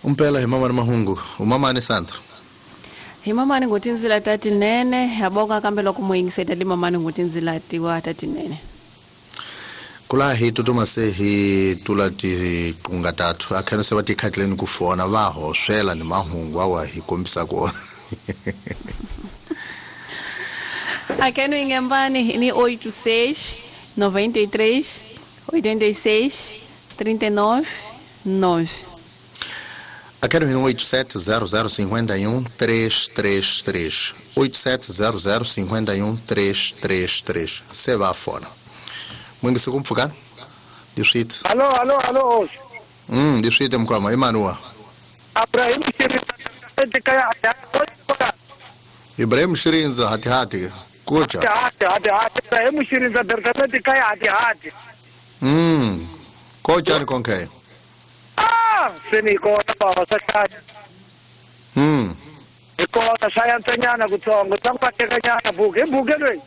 Umpela hi mamani mahungu umamani Sandra. Hi mamani ngutinzila tatinene yaboka kambe loko muyingiseta li mamani ngutinzila tiwa tatinene. Kula hi tutuma se hi tula tiqunga tatu akhana se va tikhatleni ku fona va hoswela ni mahungu awa hi kombisa kona. Akeno ingembani ni 86 93 86 39 9. Akeno ni 87 00 51 333 87 00 51 333 se va fona. Mwingisi kumpfukana diswiti. Allo allo allo. Diswiti mkwama Emmanuel. Abraham Shirinza. Ibrahim Shirinza hati hati. Kocha. Hati hati hati. Ibrahim Shirinza berkameti kaya hati hati. Kocha ni konke. Ah, seni kona baba sakati. Ikona sayansa nyana kutsongo tsangwa teka nyana buke buke lwe.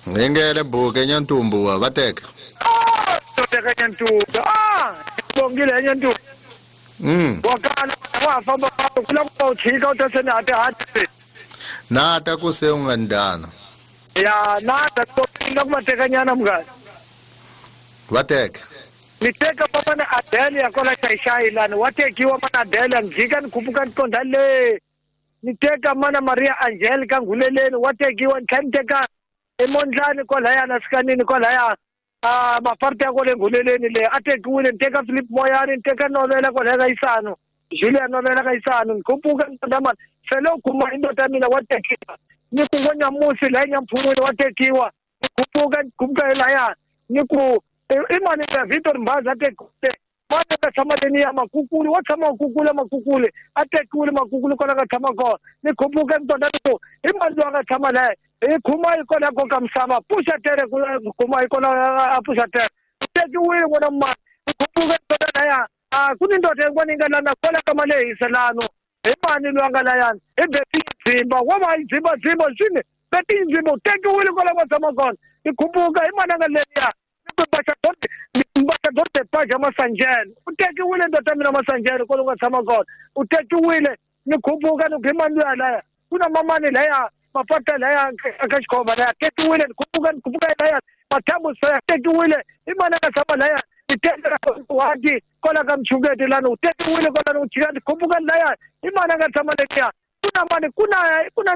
Ngengele buke nyantumbu wa bateka. Ah, teka nyantumbu. Ah, bongile nyantumbu. Wakana wa famba kula ku chika utasena hati hati. Na ta ku se ungandana. Ya na ta ko pinga kumateka nyana mngani. Bateka. Niteka papa na Adele ya kola shaishai lani watekiwa mana Adele njika nikupuka nkonda le. Niteka mana Maria Angelica nguleleni watekiwa niteka emondlani kola ya nasikanini kola ya mafarte ya kole nguleleni le atekiwile niteka Philip Moyani niteka Novela kola ya Kaisano Julia Novela Kaisano nikupuka nkonda man felo kuma indoda mina watekiwa nikungonya musi la nyamphumuni watekiwa nikupuka nikupuka la ya niku imani ya Victor Mbaza atekule mwana ka tshama ya makukule wa tshama makukule makukule atekule makukule kona ka tshama kona nikhuphuka ntoda ku imani wa ka tshama la hi khuma yi kona ko ka misava pusha tere ku khuma yi kona a pusha tere tekiwile kona mani nikhuphuka ntoda la ya a ku ni ndoda yin'wana yi nga lana kola ka malehisa lano hi mani loyi a nga layani hi beti dzimba wa va yi dzimba dzimba swini beti dzimba u tekiwile kola ka tshama kona nikhuphuka hi mani a nga leriya Ambassador de Paja Masanjel u tekiwile ndoda mina Masanjel kolo nga tshama kona u tekiwile nikhuphuka ni khimani luya laya kuna mamani laya mapata laya ka xikhomba laya tekiwile nikhuphuka nikhuphuka laya mathambu saya tekiwile i mani nga tshama laya ni tekela wati kola ka mchuketi lani u tekiwile kola ni u nikhuphuka laya i mani nga tshama letiya kuna mani kuna kuna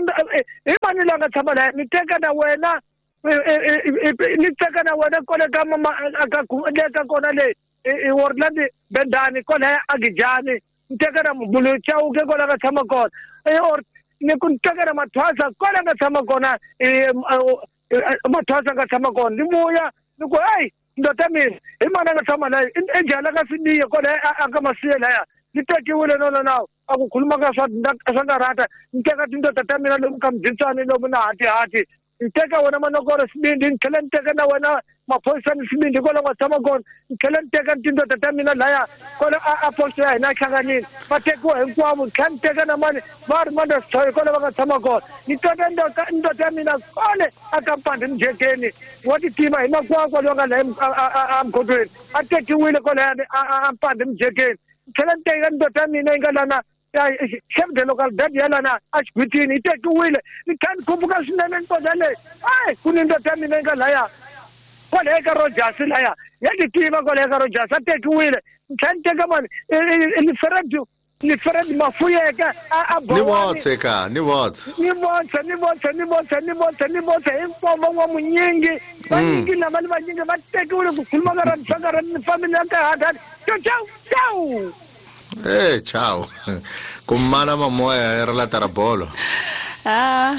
i mani la nga tshama laya ni teka na wena ni teka na wena kole ka mama aka leka kona le i Worland Bendani kona Agijani ni teka na Mbulu Chauke kona ka tshama kona or ni ku teka na Mathwasa kona ka tshama kona Mathwasa ka tshama kona ni vuya ni ku hey ndoda mina hi mana nga tshama la enjala ka Sibiya kona aka Masiya laya ni tekiwile no no no a ku khuluma ka swa swa karata ni teka tindoda ta mina lomu ka mdzitsani lomu na hati hati niteka wena manokoro sibindi ngitlhela niteka na wena maphoyisa ni sibindi kwala nga tshama kona ngitlhela niteka tindoda ta mina laya kwala a posto ya hina hlanganini va tekiwa hinkwavo ngitlhela niteka na mani va ri manda sithoyo kwala va nga tshama kona ni teka ndoda ya mina kole a kampandi mjekeni wa titima hi makwakwa loyi nga laya emgodweni a tekiwile kwalayani a mpandi mjekeni ngitlhela niteka ndoda ya mina yi nga lana chef de localidade ya lana a xigwitini yi tekiwile ni kha ni khuphuka swinene ntoda leyi ayi ku ni ndoda ya mina yi nga laya kwalaya ka Rogers laya ya ti tiva kwalaya ka Rogers a tekiwile ni tlhela ni teka mani ni Fred Mafuyeka a ni votse ka ni votse ni votse ni votse ni votse ni votse ni votse hinkwavo va munyingi vanyingi lava ni vanyingi va tekiwile ku khuluma ka ra ka ni family ya ka hati ciao ciao. Eh, ciao. Kumana mamoya era la tarabolo. Ah,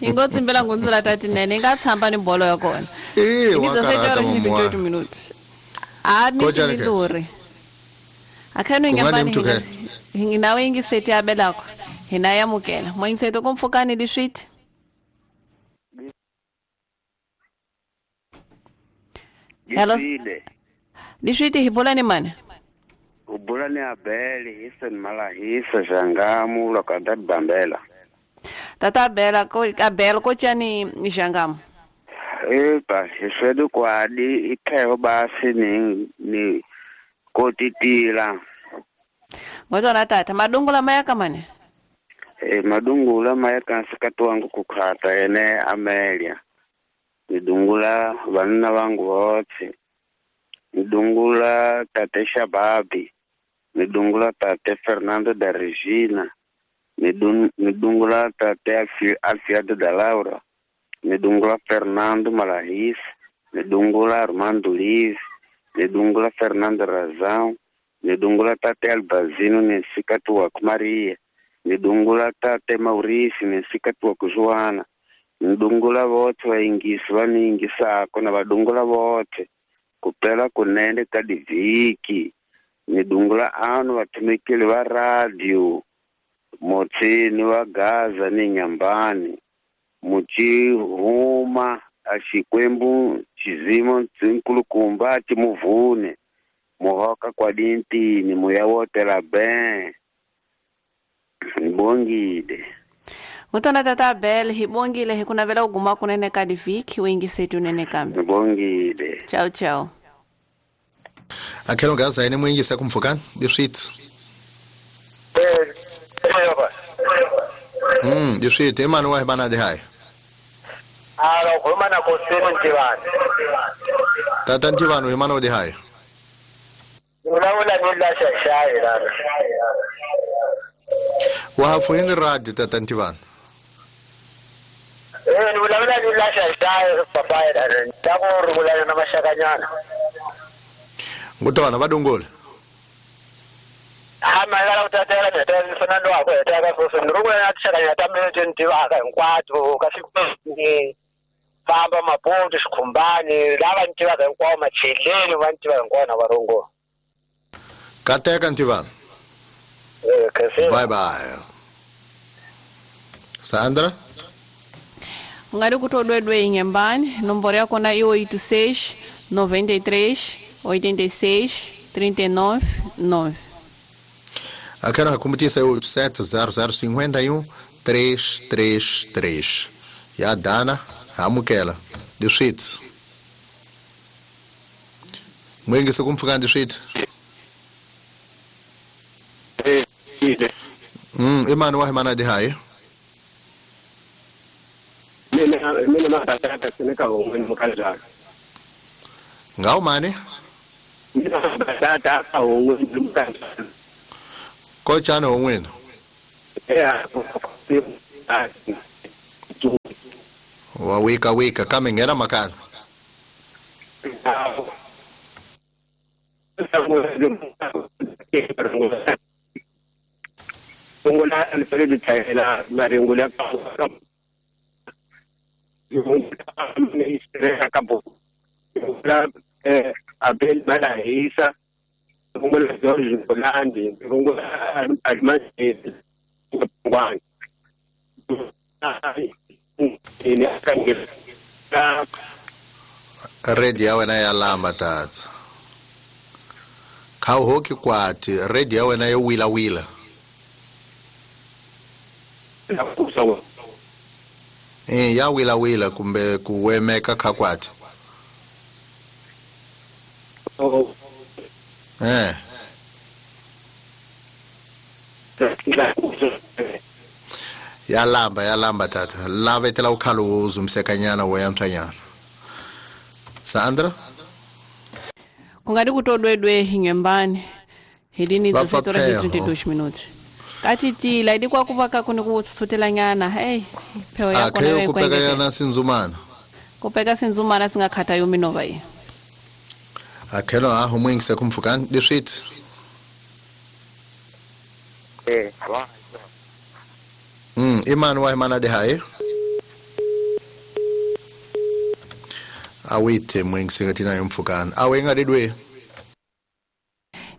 ingotsi impela ngunzula tatinene ingathamba ni bolo ya kona. Eh, wa karata mamoya. Minuti. Ah, mi luri. Akhano ingambani nginawe ingiseti abelakho. Hina yamukela. Moyingiseto kumfukani liswiti. Hello. Liswiti hibolani mani? Ubulani Abeli hisen malahisa Jangamu lokanda Bambela. Tata Abela ko Abel ko chani Jangamu. Eba hisedu kwadi itheo basi ni kotitila. Ngotona tata madungula maya kamane. Madungula maya kansikati wangu kukhata ene Amelia. Nidungula vanna vangu votse. Nidungula tate Shababi. Nidungula tate Fernando da Regina. Nidungula tate Alfiado da Laura. Nidungula Fernando Malahis. Nidungula Armando Liz. Nidungula Fernando Razão. Nidungula tate Albazino nesikati wa Maria. Nidungula tate Mauricio nesikati wa Joana. Nidungula vothe vaingisi vaningisako na vadungula vothe kupela kunene ka divhiki. Nidungula anu vathumekeli va radio Motsini wa Gaza ni Nyambani Muchihuma a Xikwembu xizimo nkulukumba ti muvune muhoka kwa dintini muya wotela ben nibongile. Mutona tata Abel hibongile hikunavela uguma kunene ka divhiki wingisetu unene kambe. Nibongile. Ciao ciao. Akhelo Gaza ene mwingisa kumfukani diswitsi. Diswitsi emani wa hibana de hai. Alo khuluma na Kosini Ntibane. Tata Ntibane himana de hai. Ulawula ni la shashayi lana. Wa hafu radio tata Ntibane. Ulawula ni la shashayi papai lana. Ndako rugulana na mashakanyana. Ngutona vadungula. Ama ngala utatela mina Fernando wakho etaka futhi ngirukula nathishakanya tamile nje hinkwato ka siku famba maponto xikhumbani lava ni tivaka hinkwawo macheleni va ni tiva hinkwawo na varungo. Kateka Ntivana. Bye bye. Sandra ungari kutodwedwe inyembani nomboro yakona i 86 93 86 39 9. Aquela recompetência é 870051 333. E a Dana Amukela de Switz. Mwingi se kumfika de Switz. Imani wa himana de hai. Mina matata seneka hongweni mukazaka. Ngao mane? Mina matata hongweni mukazaka. Kochana hongweni? Wa wika wika kame ngera makana. Ngula alifeli tayela maringula ka ngula Abel Malahisa ngula George Ngolandi ngula Almasi Ngwani Redi ya wena ya lamba tata. Kha hoki kwati redi ya wena yo wila wila. Ya wila wila kumbe kuwemeka kha kwati. Ya lamba tata. Lavetela ukhalo uzumsekanyana weyamthanyana. Sandra kungadi kutodwedwe hinyembani hilini 17 horas 32 minutos. Katitila idi kwa kuvaka kuni kutsutela hey pheo yakho nayo kupeka yana sinzumana. Kupeka sinzumana singakhatha yominova yi. Akhelo aho mwingise kumfukani diswitsi. Imani wa imana de hai. Awite mwingise ngatina yomfukani. Awe ngadidwe.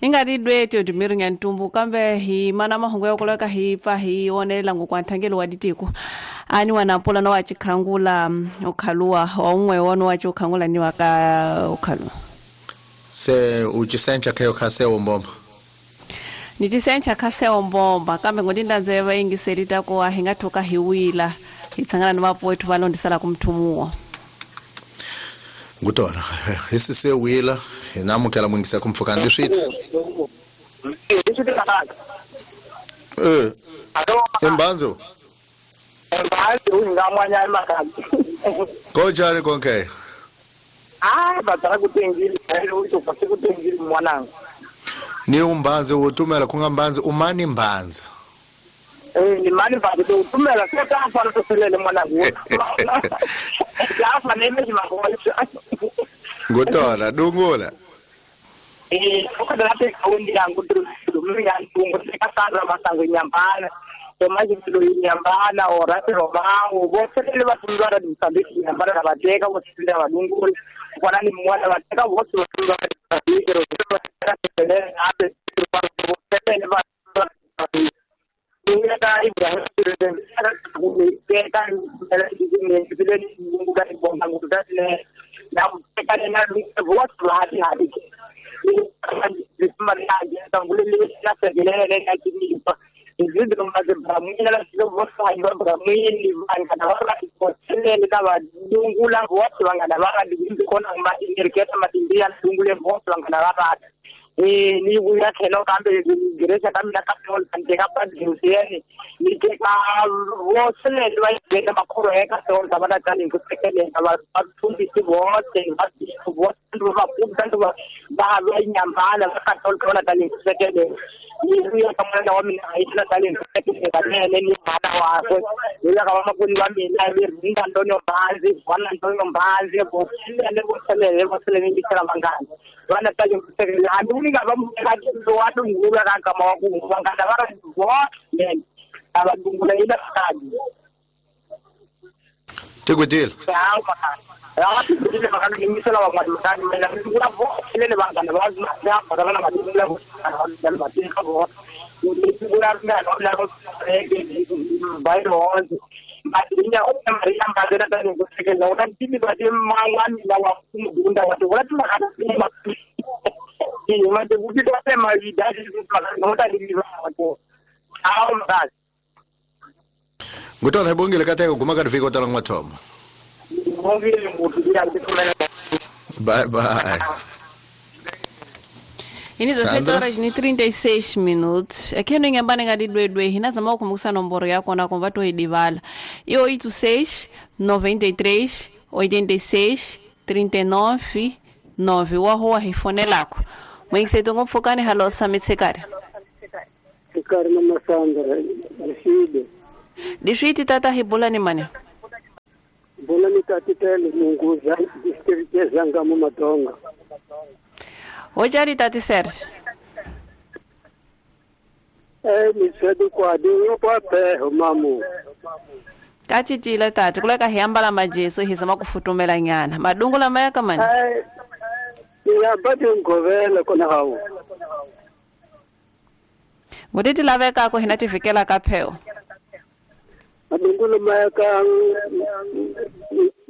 Ingadidwe teodimiri nyantumbu kambe hi mana mahungu ya kuleka hi pa hi onela ngokwanthangelo wa ditiko. Ani wanapola no wachikhangula ukhalua wa umwe wono wachikhangula ni waka ukhalua. Se uchisencha khayo khase ombomba. Nitisencha khase ombomba kambe ngodindanze vaingiselita ko ahingathoka hiwila itsangana ni vapoethu valondisala kumthumuwa. Ngutona isise wila inamukela mwingisa kumfukani diswitsi. Makaka. Imbanzo. Imbanzo ungamwanya Makaka. Kojani konke? Ah, batara kutengili, uto kutengili mwanangu. Ni umbanze utumela kungambanze umani mbanza. Ni mani mbanza utumela sota afana toselele mwanangu. Afa neme makola. Ngotona dungola. Ukadala kaundi yangu ndumira ntungo sekasara masango nyambana. Tomaji ndo nyambana orate romango bose le batundwa ndisambiki nyambana nabateka bose badungula. Kwana ni mwana bateka bose batundwa Ni wuya khelo kambe gereza kambe na kapol nteka pa diusieni ni teka wosele ba teka makoro eka tol tabana tani kusekele aba bafundisi bote bote ba punta ba ba nyambana ba tol kona tani kusekele ni wuya kamana wa mina itla tani kusekele kanene ni mana wakwe wuya kama kuni wa mina rinda Antonio Mbanzi bwana Antonio Mbanzi bosele bosele bosele ni kila mangana bwana tani kusekele anduni wadungula kama wakungana vara vote abadungula ila kadi Tikudil Ngutona ibongile kateka guma ka rifika tala ngwathomo. Bye bye. Ini 17 horas ni 36 minutos. Aqui no Inhambane ngadi dwedwe hina zama ukumbuka nomboro yako na kombato idivala. E 86 93 86 39 9 wa hoa hifone lako. Mwingiseto ngopfukani halo samitsekari. Sekari mama Sandra, dishide. Dishiti tata hibula ni mane. Bula ni tatitele munguza district ya Zangamu Matonga. Ojari tati Serge. Ni kwa dinyo kwa peho mamu. Kati tila tati kuleka hiambala majeso hizama kufutumela nyana. Madungula maya kamani. Ya badi ngovela kona hawo. Ngutiti laveka ko hinatifikela kapheo. Madungula maya ka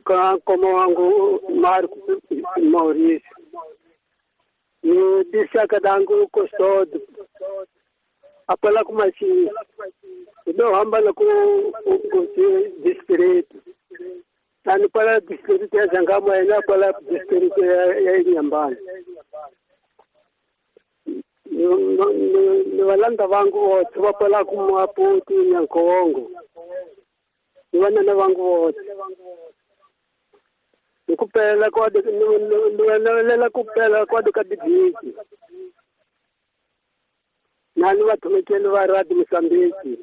ka koma wangu Marco Mauricio. Ni disaka dangu kostod. Apala kumasi. Ndo hamba la ku district. Tani pala district ya Zangamu ena pala district ya Inhambane. Ni walanda wangu wote wapala kumaputi Nyankongo. Ni wanana wangu wote. Nikupela kwa niwelela kupela kwa dukadibiki. Nani watumikeli wa radi Msambiki.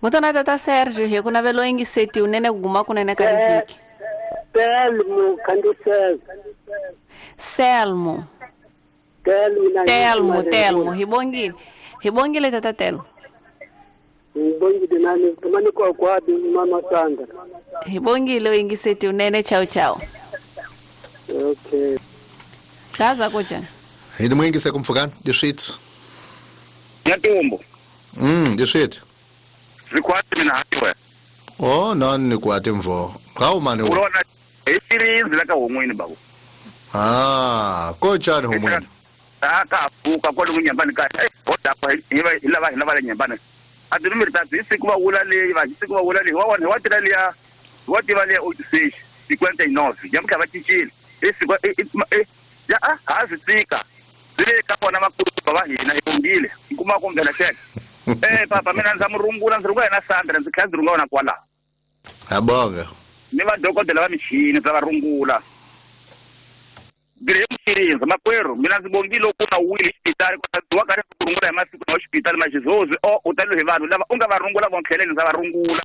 Ngutona tata Sergio hekuna velo ingi seti unene kuguma kunene kadibiki. Telmo kandisel. Selmo. Telmo Telmo Telmo hibongile. Hibongile tata Telmo. Hibongile nani tumani kwa kwa mama Sandra. Hibongile ingi seti unene chao chao. Okay. Kaza kocha. Hidi mwingi sekumfukani dishit. Nyatumbo. Dishit. Zikwati mina hawe. Oh, nani nikwati mvo. Kawu mani. Ulona isiri zilaka humwini babu. Ah, kocha ni humwini. Aka afuka kwa lungu nyambani ka. Oda kwa ilava ilava nyambani. Adurumiri tatu isikuwa ulale, isikuwa ulale. Wawana watilalia, wativalia 86 59. Jamka batichile. Isikuwa ya hazitika. Kona vakulukumba va hina hi bongile hi kuma ku nghena xeke papa mina ndza mu rungula ndzi rungula yena Sandra ndzi tlhela ndzi rungula wona kwalaho ha bonga ni vadokodela va michini ndza va rungula Graham Shirinza makwerhu mina ndzi bongile loko na wile xipitali wa karhi ku rungula hi masiku na xipitali maxizozi o u taliwe hi vanhu lava u nga va rungula vontlheleni ndza va rungula.